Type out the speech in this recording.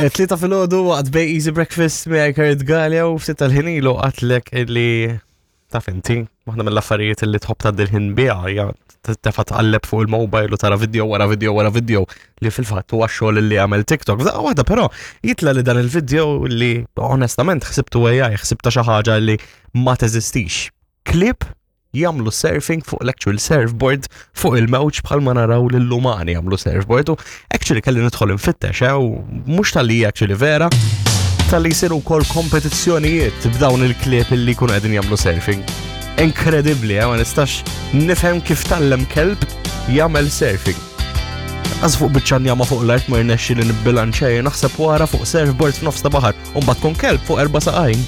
Eh, Tlieta filgħodu waqt Bay Easy Breakfast miegħi Kurt Galea u ftit tal-ħin ilu qatlek illi taf inti, waħda mill-affarijiet illi tħobb tgħaddi l-ħin biha hija tefa' tqalleb fuq il-mobile u tara video wara video wara video li fil-fatt huwa xogħol li għamel TikTok. F'daqqa waħda però jitla li dan il-video li onestament ħsibtu AI, ħsibta xi ħaġa li ma teżistix. Klip jagħmlu surfing fuq l-actual surfboard fuq il-mewġ bħalma naraw lill-umani jagħmlu surfboard u actually kelli nidħol infittex eh, u mhux tal-li actually vera tal-li jsiru wkoll kompetizzjonijiet b'dawn il-klieb li jkunu qegħdin jagħmlu surfing. Inkredibbli, eh, ma nistax nifhem kif tallem kelb jagħmel surfing. Għaz fuq biċċa njama fuq l-art ma jirnexxi li nibbilanċej naħseb wara fuq surfboard f'nofs ta' baħar u mbagħad tkun kelb fuq erba' saqajn.